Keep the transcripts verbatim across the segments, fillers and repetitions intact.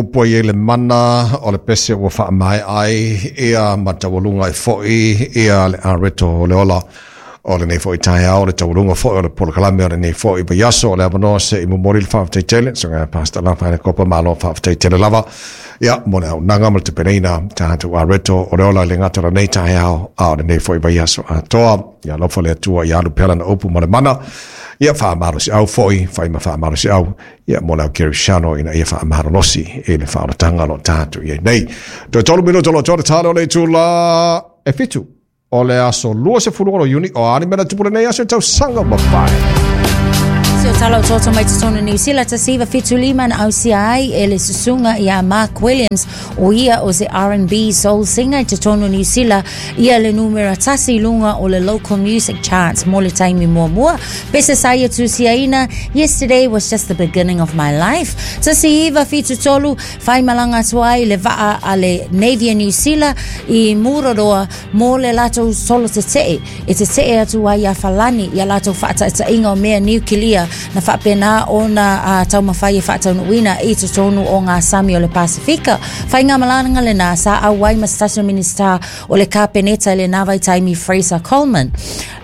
Upu ai le mana o le pese ua faamaea ai ia ma taualuga ai foi ia le Areto o le ola o lenei foi taeao, le taualuga foi o le polokalame o lenei foi vaiaso. O le avanoa se i momoli le faafetai tele susuga Pastor Lafaele Kopa, malo faafetai tele lava ia mo le auaunaga ma le tapenaina tatou Areto o le ola i le gata o lenei taeao a o lenei foi vaiaso atoa. Ia alofa le Atua ia alu pea lana upu ma le mana, ia faamalosiau foi, fai ma faamalosiau ia mo le au kerisiano ina ia faamalolosi i le faaolataga o lo o tatou i ai nei. Toe tolu minuta o lo o toa tale o le itula e fitu o le aso luasefulu ono Iuni. O a ni mea na tupu lenei aso i tausaga ua mavae? Se o tala o toto mai totonu Niu Sila, tasi iva fitu lima na ausia ai e le susuga ia Mark Williams, o ia o se R and B soul singer i totonu Niu Sila, ia le numera tasi i luga o le local music charts mo le taimi muamua. Pese sa ia tusiaina, "Yesterday was just the beginning of my life." Tasi iva fitu tolu, faimalaga atu ai le vaa a le Navy a Niu Sila i Mururoa mo le latou solo tete'e e tete'e atu ai ia Falani ia latou faataitaiga o mea niukilia na faapena ona uh, taumafai e faataunuuina i totonu o ngā sami o le Pasifika. Faigamalaga lena sa auai ma se tasi o Minista o le Kapeneta i lena vaitaimi, Fraser Coleman.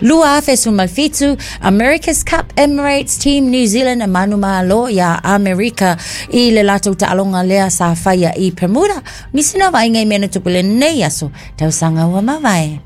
Lua afe sefulu ma fitu, America's Cup, Emirates Team New Zealand e manumalo ia Amerika i le latou taaloga lea sa faia i Bermuda. Nisi na vaaiga i mea na tupu lenei aso tausaga ua mavae.